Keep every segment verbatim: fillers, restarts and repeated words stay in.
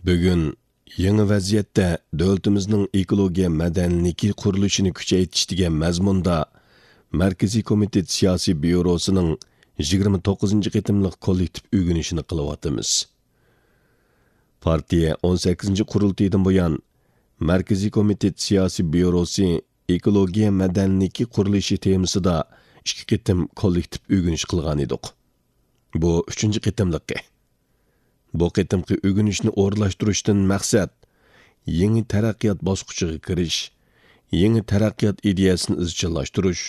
بۈگۈن يېڭى ۋەزىيەتتە دۆلىتىمىزنىڭ ئېكولوگىيە مەدەنىيلىكى قۇرۇلۇشىنى كۈچەيتىش دېگەن مەزمۇندا مەركىزىي كومىتېت سىياسىي بيۇروسىنىڭ يىگىرمە توققۇزىنچى قېتىملىق كوللېكتىپ ئۆگىنىشىنى قىلىۋاتىمىز. پارتىيە ئون سەككىزىنچى قۇرۇلتىيىدىن بۇيان، مەركىزىي كومىتېت سىياسىي بيۇروسى ئېكولوگىيە مەدەنىيلىكى قۇرۇلۇشى تېمىسىدا ئىككى قېتىم كوللېكتىپ ئۆگىنىش قىلغان ئىدۇق. بۇ ئۈچىنچى قېتىملىقى. بۇ قېتىمقى ئۆگىنىشنى ئورۇنلاشتۇرۇشتىن مەقسەت، يېڭى تەرەققىيات باسقۇچىغا كىرىش، يېڭى تەرەققىيات ئىدىيەسىنى ئىزچىللاشتۇرۇش،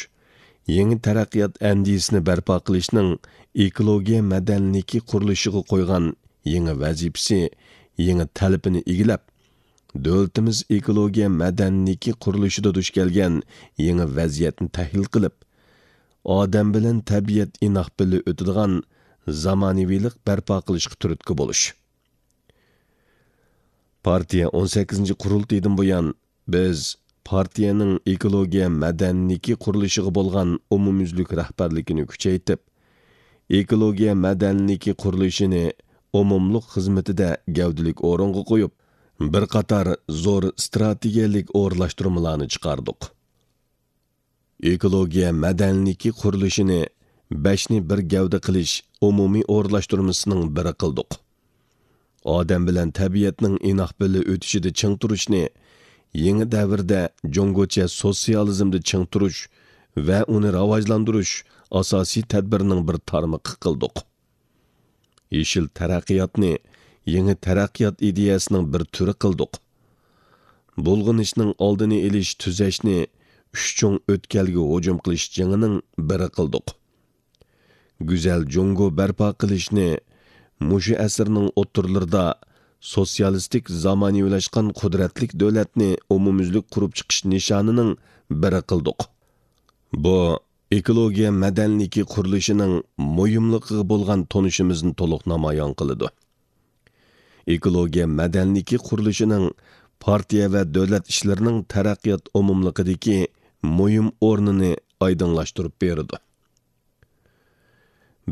يېڭى تەرەققىيات ئەندىزىسىنى بەرپا قىلىشنىڭ ئېكولوگىيە مەدەنىيلىكى قۇرۇلۇشىغا قويغان يېڭى ۋەزىپىسى، يېڭى تەلىپىنى ئىگىلەپ، دۆلىتىمىز ئېكولوگىيە مەدەنىيلىكى قۇرۇلۇشىدا دۇچ كەلگەن يېڭى ۋەزىيەتنى تەھلىل قىلىپ، ئادەم بىلەن تەبىئەت ئىناق بىللە ئۆتىدىغان زامانىۋىلىق بەرپا قىلىشقا تۈرتكە بولۇش. پارتىيە ئون سەككىزىنچى قۇرۇلتىيىدىن بۇيان، بىز پارتىيەنىڭ ئېكولوگىيە مەدەنىيلىكى قۇرۇلۇشىغا بولغان ئومۇميۈزلۈك رەھبەرلىكىنى كۈچەيتىپ، ئېكولوگىيە مەدەنىيلىكى قۇرۇلۇشىنى ئومۇملۇق خىزمىتىدە گەۋدىلىك ئورۇنغا قويۇپ، بىر قاتار زور ئىستراتېگىيەلىك ئورۇنلاشتۇرمىلارنى چىقاردۇق. ئېكولوگىيە مەدەنىيلىكى قۇرۇلۇشىنى بەشنى بىر گەۋدە قىلىش ئومۇمىي ئورۇنلاشتۇرمىسىنىڭ بىرى قىلدۇق. ئادەم بىلەن تەبىئەتنىڭ ئىناق بىللە ئۆتۈشىدە چىڭ تۇرۇشنى يېڭى دەۋردە جۇڭگوچە سوتسىيالىزمدا چىڭ تۇرۇش ۋە ئۇنى راۋاجلاندۇرۇش ئاساسىي تەدبىرىنىڭ بىر تارمىقى قىلدۇق. يېشىل تەرەققىياتنى يېڭى تەرەققىيات ئىدىيەسىنىڭ بىر تۈرى قىلدۇق. بۇلغىنىشنىڭ ئالدىنى ئېلىش، تۈزەشنى ئۈچ چوڭ ئۆتكەلگە ھۇجۇم قىلىش جېڭىنىڭ بىرى قىلدۇق. گۈزەل جۇڭگو بەرپا قىلىشنى مۇشۇ ئەسىرنىڭ ئوتتۇرىلىرىدا سوتسىيالىستىك زامانىۋىلاشقان قۇدرەتلىك دۆلەتنى ئومۇميۈزلۈك قۇرۇپ چىقىش نىشانىنىڭ بىرى قىلدۇق. بۇ ئېكولوگىيە مەدەنىيلىكى قۇرۇلۇشىنىڭ مۇھىملىقىغا بولغان تونۇشىمىزنى تولۇق نامايان قىلىدۇ. ئېكولوگىيە مەدەنىيلىكى قۇرۇلۇشىنىڭ پارتىيە ۋە دۆلەت ئىشلىرىنىڭ تەرەققىيات ئومۇملۇقىدىكى مۇھىم ئورنىنى ئايدىڭلاشتۇرۇپ بېرىدۇ.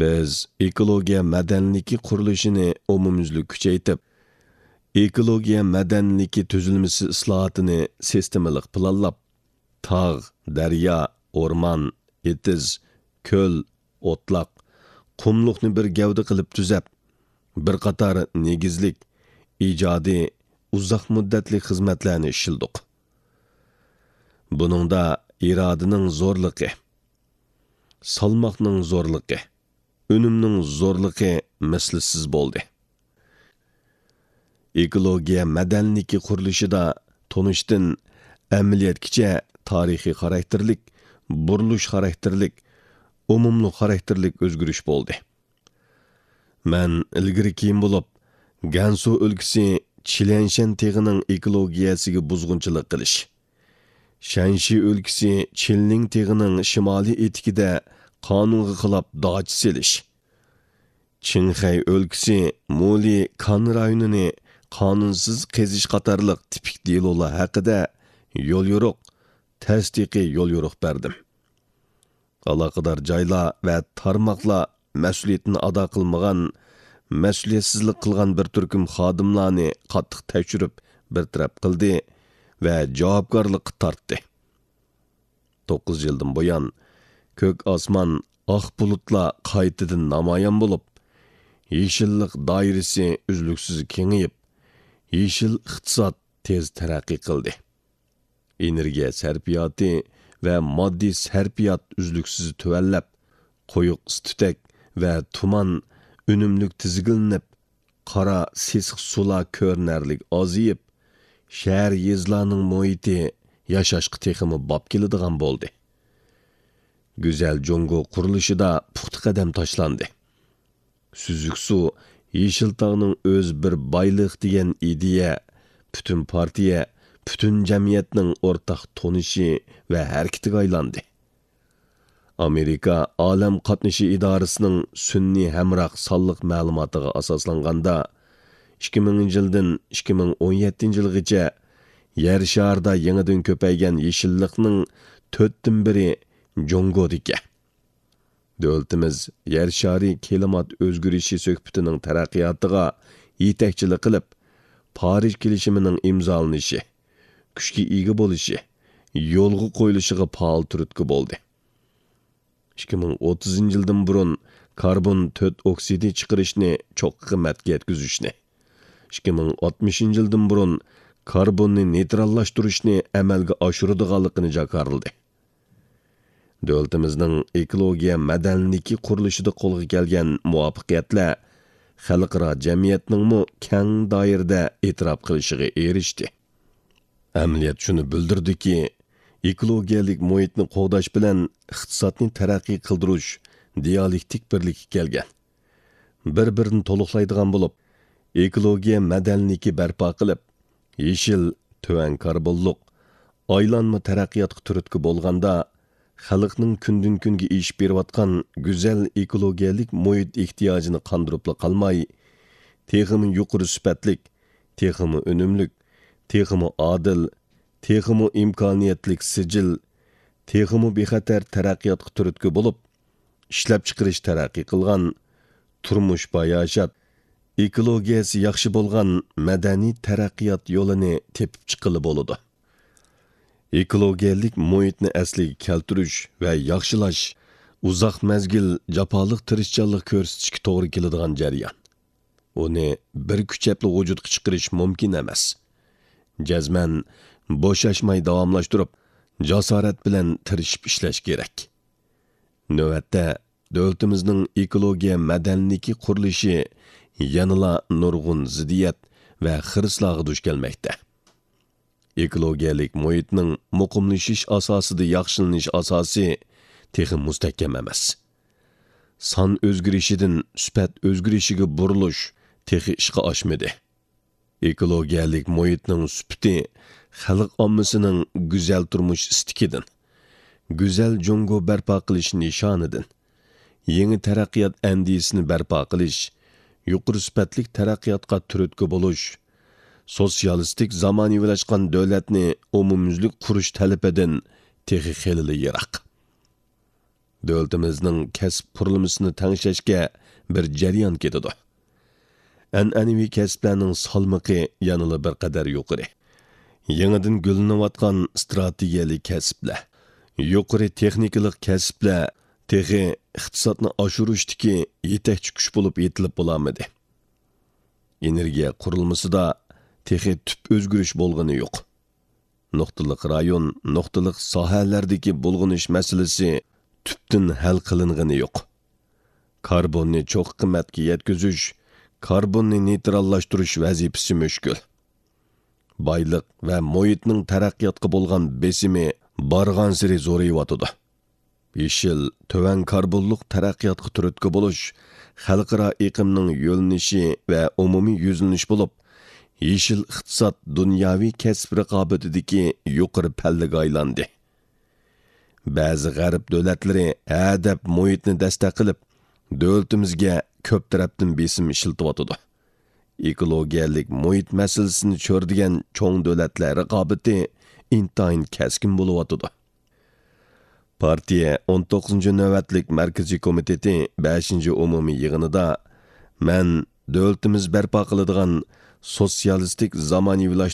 بىز ئېكولوگىيە مەدەنىيلىكى قۇرۇلۇشىنى ئومۇميۈزلۈك كۈچەيتىپ، ئېكولوگىيە مەدەنىيلىكى تۈزۈلمىسى ئىسلاھاتىنى سىستېمىلىق پىلانلاپ، تاغ، دەريا، ئورمان، ئېتىز، كۆل، ئوتلاق، قۇملۇقنى بىر گەۋدە قىلىپ تۈزەپ، بىر قاتار نېگىزلىك، ئىجادىي، ئۇزاق مۇددەتلىك خىزمەتلەرنى ئىشلىدۇق. بۇنىڭدا ئىرادىنىڭ زورلۇقى، سالماقنىڭ زورلۇقى، ئۈنۈمنىڭ زورلۇقى مىسلىسىز بولدى. ئېكولوگىيە مەدەنىيلىكى قۇرۇلۇشىدا تونۇشتىن ئەمەلىيەتكىچە تارىخىي خاراكتېرلىك، بۇرۇلۇش خاراكتېرلىك، ئومۇملۇق خاراكتېرلىك ئۆزگىرىش بولدى. مەن ئىلگىرى كېيىن بولۇپ، گەنسۇ ئۆلكىسى چىليەنشەن تېغىنىڭ ئېكولوگىيەسىگە بۇزغۇنچىلىق قىلىش، شەنشى ئۆلكىسى چىنلىڭ تېغىنىڭ شىمالىي ئېتىكىدە قانۇنغا خىلاپ داچا سېلىش، چىڭخەي ئۆلكىسى مۇلى كان رايونىنى قانۇنسىز قېزىش قاتارلىق تىپىك دېلولار ھەققىدە يوليورۇق، تەستىقىي يوليورۇق بەردىم. ئالاقىدار جايلار ۋە تارماقلار مەسئۇلىيىتىنى ئادا قىلمىغان، مەسئۇلىيەتسىزلىك قىلغان بىر تۈركۈم خادىملارنى قاتتىق تەكشۈرۈپ، بىر تەرەپ قىلدى ۋە جاۋابكارلىققا تارتتى. توققۇز يىلدىن بۇيان، كۆك ئاسمان، ئاق بۇلۇتلار قايتىدىن نامايان بولۇپ، يېشىللىق دائىرىسى ئۈزلۈكسىز كېڭىيىپ، يېشىل ئىقتىساد تېز تەرەققىي قىلدى. ئېنېرگىيە سەرپىياتى ۋە ماددىي سەرپىيات ئۈزلۈكسىز تۆۋەنلەپ، قويۇق ئىس-تۈتەك ۋە تۇمان ئۈنۈملۈك تىزگىنلىنىپ، قارا سېسىق سۇلار كۆرۈنەرلىك ئازىيىپ، شەھەر، يېزىلارنىڭ مۇھىتى ياشاشقا تېخىمۇ باب كېلىدىغان بولدى. گۈزەل جۇڭگو قۇرۇلۇشىدا پۇختا قەدەم تاشلاندى. سۈزۈك سۇ، يېشىل تاغنىڭ ئۆزى بىر بايلىق دېگەن ئىدىيە پۈتۈن پارتىيە، پۈتۈن جەمئىيەتنىڭ ئورتاق تونۇشى ۋە ھەرىكىتىگە ئايلاندى. ئامېرىكا ئالەم قاتنىشى ئىدارىسىنىڭ سۈنئىي ھەمراھ سانلىق مەلۇماتىغا ئاساسلانغاندا، ئىككى مىڭىنچى يىلدىن ئىككى مىڭ ئون يەتتىنچى يىلغىچە يەر شارىدا يېڭىدىن كۆپەيگەن يېشىللىقنىڭ تۆتتىن بىرى جۇڭگودىكەن. دۆلىتىمىز يەر شارى كىلىمات ئۆزگىرىشى سۆھبىتىنىڭ تەرەققىياتىغا يېتەكچىلىك قىلىپ، پارىژ كېلىشىمىنىڭ ئىمزالىنىشى، كۈچكە ئىگە بولۇشى، يولغا قويۇلۇشىغا پائال تۈرتكە بولدى. ئىككى مىڭ ئوتتۇزىنچى يىلدىن بۇرۇن كاربون تۆت ئوكسىدى چىقىرىشنى چوققا قىممەتكە يەتكۈزۈشنى، ئىككى مىڭ ئاتمىشىنچى يىلدىن بۇرۇن كاربوننى نېيتراللاشتۇرۇشنى ئەمەلگە ئاشۇرىدىغانلىقىنى جاكارلىدى. دۆلىتىمىزنىڭ ئېكولوگىيە مەدەنىيلىكى قۇرۇلۇشىدا قولغا كەلگەن مۇۋەپپەقىيەتلەر خەلقئارا جەمئىيەتنىڭمۇ كەڭ دائىرىدە ئېتىراپ قىلىشىغا ئېرىشتى. ئەمەلىيەت شۇنى بىلدۈردىكى، ئېكولوگىيەلىك مۇھىتنى قوغداش بىلەن ئىقتىسادنى تەرەققىي قىلدۇرۇش دىئالېكتىك بىرلىككە كەلگەن. بىر-بىرىنى تولۇقلايدىغان بولۇپ، ئېكولوگىيە مەدەنىيلىكى بەرپا قىلىپ، يېشىل، تۆۋەن كاربونلۇق، ئايلانما تەرەققىياتقا تۈرتكە بولغاندا، خەلقنىڭ كۈندىن-كۈنگە ئېشىپ بېرىۋاتقان گۈزەل ئېكولوگىيەلىك مۇھىت ئېھتىياجىنى قاندۇرۇپلا قالماي، تېخىمۇ يۇقىرى سۈپەتلىك، تېخىمۇ ئۈنۈملۈك، تېخىمۇ ئادىل، تېخىمۇ ئىمكانىيەتلىك سىجىل، تېخىمۇ بىخەتەر تەرەققىياتقا تۈرتكە بولۇپ، ئىشلەپچىقىرىش تەرەققىي قىلغان، تۇرمۇش باياشات، ئېكولوگىيەسى ياخشى بولغان مەدەنىي تەرەققىيات يولىنى تېپىپ چىققىلى بولىدۇ. ئېكولوگىيەلىك مۇھىتنى ئەسلىگە كەلتۈرۈش ۋە ياخشىلاش ئۇزاق مەزگىل جاپالىق تىرىشچانلىق كۆرسىتىشكە توغرا كېلىدىغان جەريان. ئۇنى بىر كۈچەپلا ۋۇجۇدقا چىقىرىش مۇمكىن ئەمەس. جەزمەن بوشاشماي داۋاملاشتۇرۇپ، جاسارەت بىلەن تىرىشىپ ئىشلەش كېرەك. نۆۋەتتە، دۆلىتىمىزنىڭ ئېكولوگىيە مەدەنىيلىكى قۇرۇلۇشى يەنىلا نۇرغۇن زىددىيەت ۋە خىرىسلارغا دۇچ كەلمەكتە. ئېكولوگىيەلىك مۇھىتنىڭ مۇقىملىشىش ئاساسىدا ياخشىلىنىش ئاساسى تېخى مۇستەھكەم ئەمەس. سان ئۆزگىرىشىدىن سۈپەت ئۆزگىرىشىگە بۇرۇلۇش تېخى ئىشقا ئاشمىدى. ئېكولوگىيەلىك مۇھىتنىڭ سۈپىتى خەلق ئاممىسىنىڭ گۈزەل تۇرمۇش ئىستىكىدىن، گۈزەل جۇڭگو بەرپا قىلىش نىشانىدىن، يېڭى تەرەققىيات ئەندىزىسىنى بەرپا قىلىش، يۇقىرى سۈپەتلىك تەرەققىياتقا تۈرتكە بولۇش، سوتسىيالىستىك زامانىۋىلاشقان دۆلەتنى ئومۇميۈزلۈك قۇرۇش تەلىپىدىن تېخى خېلىلا يىراق. دۆلىتىمىزنىڭ كەسىپ قۇرۇلمىسىنى تەڭشەشكە بىر جەريان كېتىدۇ. ئەنئەنىۋى كەسىپلەرنىڭ سالمىقى يەنىلا بىر قەدەر يۇقىرى. يېڭىدىن گۈللىنىۋاتقان ئىستراتېگىيەلىك كەسىپلەر، يۇقىرى تېخنىكىلىق كەسىپلەر تېخى ئىقتىسادنى ئاشۇرۇشتىكى يېتەكچى كۈچ بولۇپ يېتىلىپ بولالمىدى. ئېنېرگىيە قۇرۇلمىسىدا تېخى تۈپ ئۆزگىرىش بولغىنى يوق. نۇقتىلىق رايون، نۇقتىلىق ساھەلەردىكى بۇلغىنىش مەسىلىسى تۈپتىن ھەل قىلىنغىنى يوق. كاربوننى چوققا قىممەتكە يەتكۈزۈش، كاربوننى نېيتراللاشتۇرۇش ۋەزىپىسى مۈشكۈل. بايلىق ۋە مۇھىتنىڭ تەرەققىياتقا بولغان بېسىمى بارغانسېرى زورىيىۋاتىدۇ. يېشىل، تۆۋەن كاربونلۇق تەرەققىياتقا تۈرتكە بولۇش خەلقئارا ئېقىمنىڭ يۆنىلىشى ۋە ئومۇمىي يۈزلىنىش بولۇپ، يېشىل ئىقتىساد دۇنياۋى كەسىپ رىقابىتىدىكى يۇقىرى پەللىگە ئايلاندى. بەزى غەرب دۆلەتلىرى ھە دەپ مۇھىتنى دەستەك قىلىپ، دۆلىتىمىزگە كۆپ تەرەپتىن بېسىم ئىشلىتىۋاتىدۇ. ئېكولوگىيەلىك مۇھىت مەسىلىسىنى چۆرىدىگەن چوڭ دۆلەتلەر رىقابىتى ئىنتايىن كەسكىن بولۇۋاتىدۇ. پارتىيە ئون توققۇزىنچى نۆۋەتلىك مەركىزىي كومىتېتى بەشىنچى ئومۇمىي يىغىنىدا مەن دۆلىتىمىز بەرپا قىلىدىغان سوتسىيالىستىك زامانىۋىلاشتۇرۇش